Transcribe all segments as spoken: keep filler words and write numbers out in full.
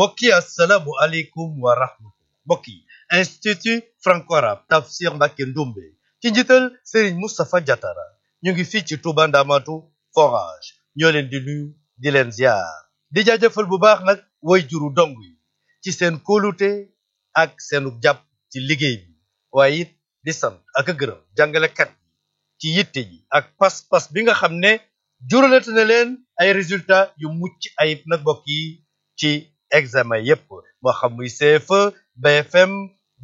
mbokk yi assalaamu aleykum wa rahmatullah. mbokk yi institut franco-arabe Tafsir Mbacké Ndoumbe ci njiital Serigne Moustapha Diatara ñu ngi fii ci Touba Ndamatu forage ñoo leen di nuyu di leen ziar di jaajëfal bu baax nag way juru dong yi ci seen kóolute ak seenu jàpp ci liggéey bi waaye it di sant ak a gërëm jàngalekat yi ci yitte yi ak pas-pas bi nga xam ne juralate na leen ay résultats yu mucc ayib nag mbokk yi ci examen yépp moo xam muy C F E B F M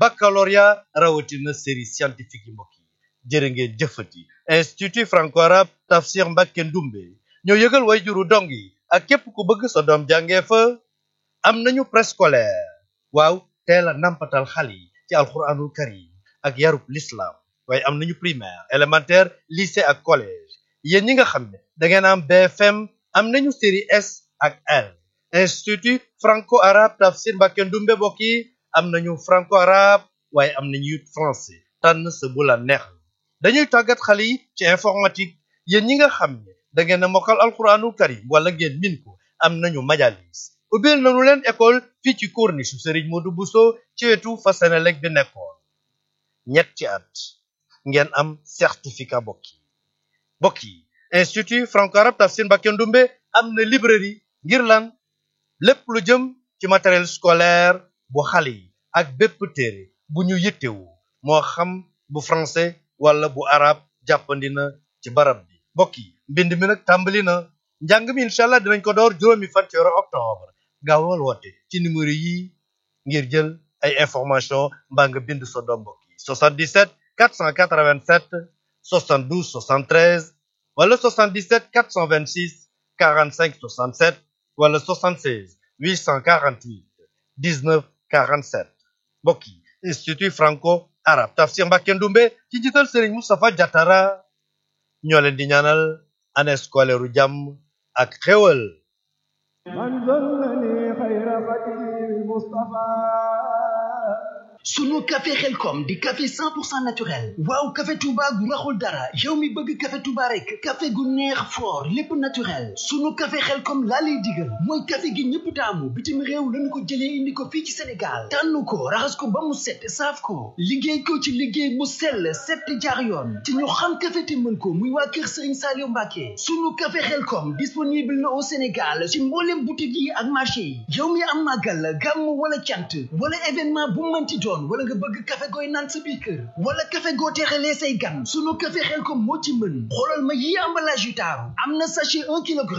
baccalauréat rawatina série scientifique yi mbokk yi jërë ngeen jëfati institut franco-arabe Tafsir Mbacké Ndoumbe ñoo yëgal way juru dong yi ak képp ku bëgg sa doom jàngee fa am nañu préscolaire waaw teel a nampatal xale yi ci alxuraanul karim ak yarub l'islam waaye am nañu primaire élémentaire lycée ak collège yéen ñi nga xam ne da ngeen am B F M am nañu série S ak L institut franco-arabe Tafsir Mbacké Ndoumbe mbokk yi am nañu franco-arabe waaye am nañu it français tànn sa bu la neex dañuy tàggat xale yi ci informatique yéen ñi nga xam ne da ngeen a mokkal alxuraanul karim wala ngeen min ko am nañu majalis ubbil nañu leen école fii ci corniche su Serigne Modou Bousso ci wetu fa Senelec bi nekkoon ñetti at ngeen am certificat mbokk yi mbokk yi institut franco-arabe Tafsir Mbacké Ndoumbe am na librairie ngir lan lépp lu jëm ci matériel scolaire bu xale yi ak bépp téere bu ñu yittewu moo xam bu français wala bu arabe jàppandi na ci barab bi mbokk yi mbind mi nag tàmbali na njàng mi incha allah dinañ ko door juróomi fan ci weeru octobre gaawal woote ci numéro yi ngir jël ay information mbaa nga bind sa doom mbokk yi soixante-dix-sept quatre cent quatre-vingt-sept soixante-douze soixante-treize wala soixante-dix-sept quatre cent vingt-six quarante-cinq soixante-sept wala soixante-seize huit cent quarante-huit dix-neuf quarante-sept mbokk yi institut franco-arabe Tafsir Mbacké Ndoumbe ci njiital Serigne Moustapha Diatara ñoo leen di ñaanal année scolaire u jàmm ak xéwal sunu café xelkom di café cent pour cent naturel waaw café Touba gu raxul dara yow mi bëgg café Touba rek café gu neex fort lépp naturel sunu café xelkom laa lay digal mooy café gi ñëpp taamu bitim réew lañu ko jëlee indi ko fii ci Sénégal tànn ko raxas ko ba mu set saaf ko liggéey ko ci liggéey mu sell set jaar yoon te ñu xam café te mën ko muy waa kër Serigne Saliou Mbacké sunu café xelkom disponible na au Sénégal ci mboolem boutique yi ak marché yi yow mi am màggal gàmm wala cant wala événement bu mënti doon wala nga bëgg café gooy naan sa biir kër wala café goo teexalee say gan sunu café Xelkom moo ci mën xoolal ma yi emballage yu taaru am na sachet un kilogramme